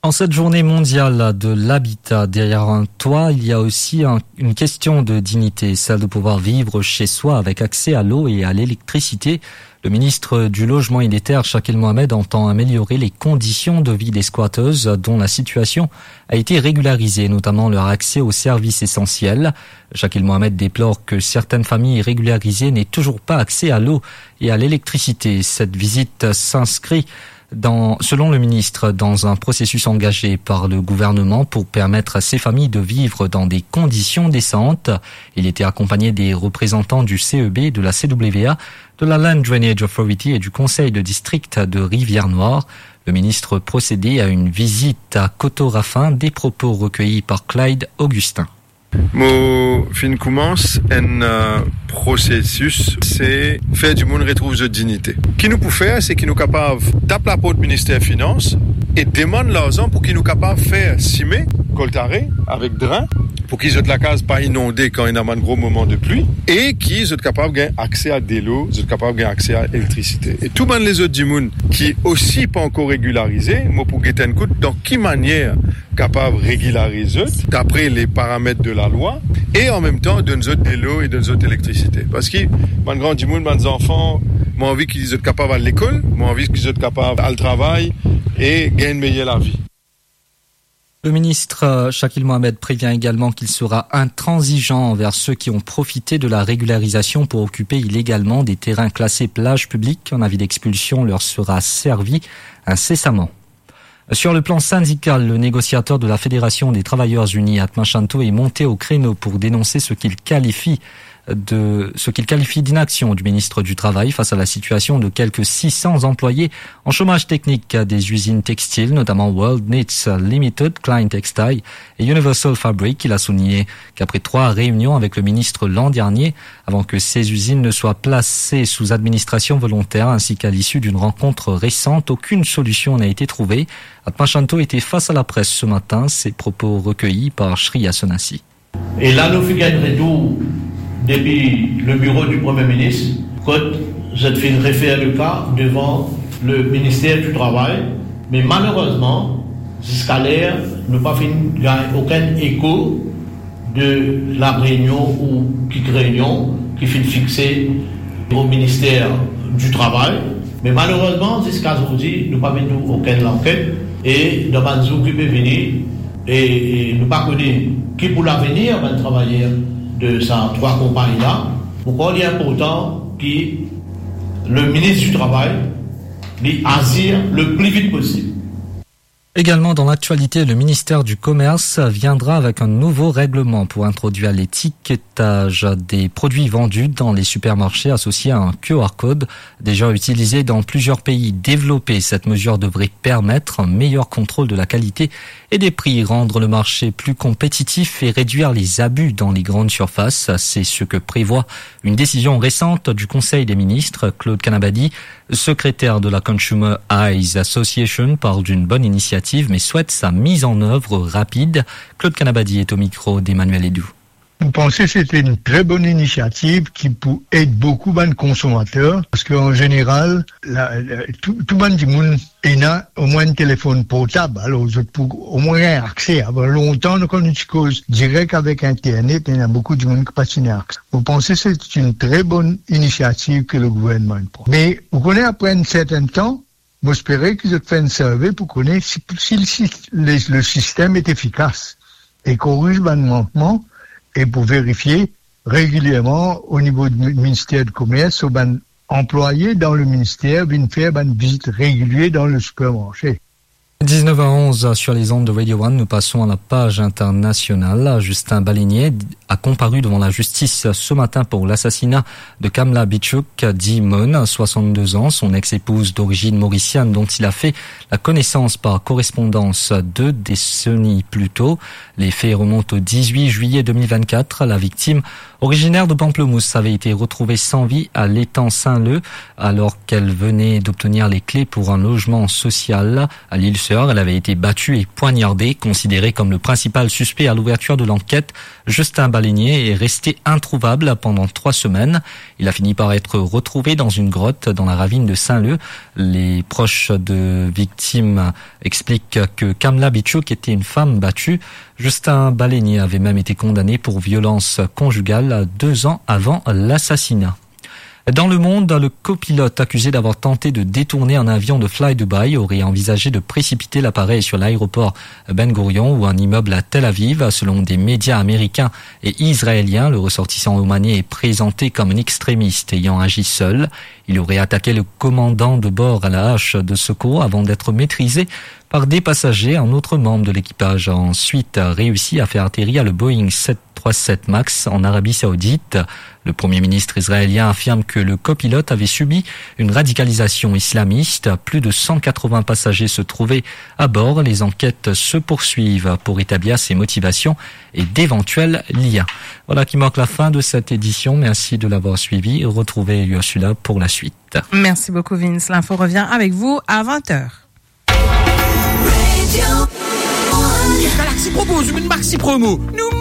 En cette journée mondiale de l'habitat, derrière un toit, il y a aussi un, une question de dignité, celle de pouvoir vivre chez soi avec accès à l'eau et à l'électricité. Le ministre du Logement et des Terres, Shakil Mohamed, entend améliorer les conditions de vie des squatteuses dont la situation a été régularisée, notamment leur accès aux services essentiels. Shakil Mohamed déplore que certaines familles régularisées n'aient toujours pas accès à l'eau et à l'électricité. Cette visite s'inscrit dans, selon le ministre, dans un processus engagé par le gouvernement pour permettre à ces familles de vivre dans des conditions décentes. Il était accompagné des représentants du C E B, de la C W A, de la Land Drainage Authority et du conseil de district de Rivière-Noire. Le ministre procédait à une visite à Koto-Rafin, des propos recueillis par Clyde Augustin. Mo finn koumans enn, euh, prosesis, se fer dimoun retrouv zot dignite. Ki nou pou fer, se ki nou kapav tap laport Minister Finans e demann larzan pou ki nou kapav fer sime, koltare avek dren, pou ki zot lakaz pa inonde kan ena bann gro moman de pli, e ki zot kapav gagn akse a delo, zot kapav gagn akse a elektrisite. E tou bann lezot dimoun ki osi pa ankor regilarize, mo pou get enn kout dan ki manier kapav regilariz zot dapre le paramet de lalwa, e an mem tan donn zot delo e donn zot elektrisite. Parski bann gran dimoun, bann zanfan, mo anvi ki zot kapav al lekol, mo anvi ki zot kapav al travay e gagn meyer lavi. Le ministre, euh, Shakil Mohamed prévient également qu'il sera intransigeant envers ceux qui ont profité de la régularisation pour occuper illégalement des terrains classés plage publique. Un avis d'expulsion leur sera servi incessamment. Sur le plan syndical, le négociateur de la Fédération des Travailleurs Unis, Atma Shanto, est monté au créneau pour dénoncer ce qu'il qualifie de, ce qu'il qualifie d'inaction du ministre du Travail face à la situation de quelques six cents employés en chômage technique des usines textiles, notamment World Knits Limited, Klein Textile et Universal Fabric. Il a souligné qu'après trois réunions avec le ministre l'an dernier, avant que ces usines ne soient placées sous administration volontaire, ainsi qu'à l'issue d'une rencontre récente, aucune solution n'a été trouvée. Atma Shanto était face à la presse ce matin, ses propos recueillis par Shreya Sonasi. E la nou finn gagn retour depi le biro di Premie Minis, kot zot finn refer le ka devan le Minister di Travay, me malerezman, ziska ler, nou pa finn gagn okenn eko de la reynion ou kit reynion ki finn fikse o Minister di Travay. Me malerezman, ziska zordi, nou pa finn trouv okenn lanket. E dan bann zour ki pe vini, e, e nou pa kone ki pou lavenir bann travayer de sa trwa konpagni la. Ankor li inportan ki le Minis di Travay, li azir le pli vit posib. Également dans l'actualité, le ministère du Commerce viendra avec un nouveau règlement pour introduire l'étiquetage des produits vendus dans les supermarchés associé à un Q R code. Déjà utilisé dans plusieurs pays développés, cette mesure devrait permettre un meilleur contrôle de la qualité et des prix, rendre le marché plus compétitif et réduire les abus dans les grandes surfaces. C'est ce que prévoit une décision récente du Conseil des ministres. Claude Kanabadi, secrétaire de la Consumer Eyes Association, parle d'une bonne initiative, mais souhaite sa mise en œuvre rapide. Claude Kanabadi est au micro d'Emmanuel Edou. Mo panse se enn tre bonn inisiativ ki pou ed boukou bann konsomater, parski an zeneral, la, la, tou, tou bann dimoun ena omwin enn telefonn portab, alor zot pou omwin gagn akse. Avan lontan, nou, kan nou ti koz direk avek internet, ena boukou dimoun ki pa ti ena akse. Mo panse se enn tre bonn inisiativ ki le gouvernman inn pran. Me, ou kone, apre enn sertenn tan, mo espere ki zot fer enn survey pou kone si, si, si le, le sistem est efficace e koriz bann mankman e pou verifie regilierman o nivo di Minister di Komers, so bann anplwaye dan le minister vinn fer bann vizit regilie dan le sipermarse. Dix-neuf à onze sur les ondes de Radio One, nous passons à la page internationale. Justin Baleinier a comparu devant la justice ce matin pour l'assassinat de Kamla Bichuk, dit Mone, soixante-deux ans, son ex-épouse d'origine mauricienne dont il a fait la connaissance par correspondance deux décennies plus tôt. Les faits remontent au dix-huit juillet deux mille vingt-quatre. La victime, originaire de Pamplemousse, avait été retrouvée sans vie à l'étang Saint-Leu alors qu'elle venait d'obtenir les clés pour un logement social à l'île Elle avait été battue et poignardée. Considéré comme le principal suspect à l'ouverture de l'enquête, Justin Baleinier est resté introuvable pendant trois semaines. Il a fini par être retrouvé dans une grotte dans la ravine de Saint-Leu. Les proches de victimes expliquent que Kamla Bichouk était une femme battue. Justin Baleinier avait même été condamné pour violence conjugale deux ans avant l'assassinat. Dans le monde, le copilote accusé d'avoir tenté de détourner un avion de Fly Dubai aurait envisagé de précipiter l'appareil sur l'aéroport Ben Gurion ou un immeuble à Tel Aviv. Selon des médias américains et israéliens, le ressortissant omanais est présenté comme un extrémiste ayant agi seul. Il aurait attaqué le commandant de bord à la hache de secours avant d'être maîtrisé par des passagers. Un autre membre de l'équipage a ensuite réussi à faire atterrir le Boeing sept trois sept Max en Arabie Saoudite. Le Premier ministre israélien affirme que le copilote avait subi une radicalisation islamiste. Plus de cent quatre-vingts passagers se trouvaient à bord. Les enquêtes se poursuivent pour établir ses motivations et d'éventuels liens. Voilà qui marque la fin de cette édition. Merci de l'avoir suivi. Retrouvez Ursula pour la suite. Merci beaucoup, Vince. L'info revient avec vous à vingt heures. Galaxy propose une maxi promo. Nou